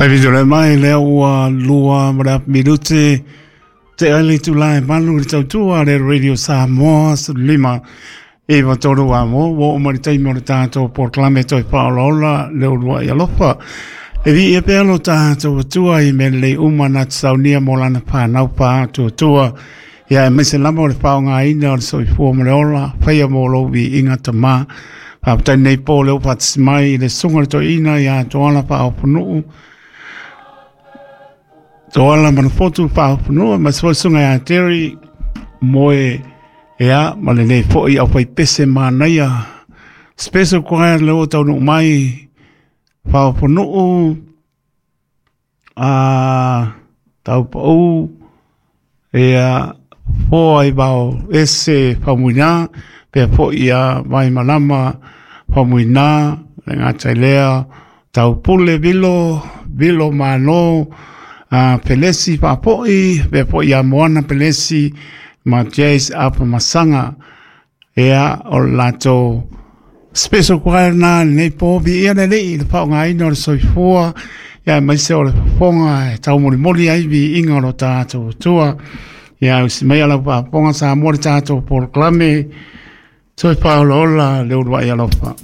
Taimi mai lea ua 2 ma le afa minute te ai le itulā e 8 i le tautua a le Radio Samoa 593 a mo ua oo mai le taimi o le tatou polokalame toe faaolaola le uluai alofa. E viia pea lo tatou Atua i mea lelei uma na te saunia mo lana fanau faatuatua. Ia aemaise lava o le faaaogaina o le soifua ma le ola, faia mo lou viiga Tamā. Faafetai nei po lea ua faatasi mai i le susuga i le toeaina ia Toala Faaoponuu, Toala Manufotu Faaoponuu, ma se foi susuga ia Terry Moe, ia, ma lenei foi au faipese manaia. Special choir lea ua taunuu mai Faaoponuu, a Taupou, ia, Foa i Vao Ese Faumuina, pea foi ia Vaimalama Faumuina, le gata i lea, Taupule Vilo, Vilo Malo, a Pelesi Faapoi, pea foi ia Moana Pelesi, ma Jace Apamasaga, ia, o le latou special choir na lenei po viia le Alii i le faaaogaina o le soifua, ia aemaise o le fofoga e taumolimoli ai viiga o lo tatou Atua. Ia usi mai lau faafofoga Samoa le tatou polokalame toe faaolaola le uluai alofa.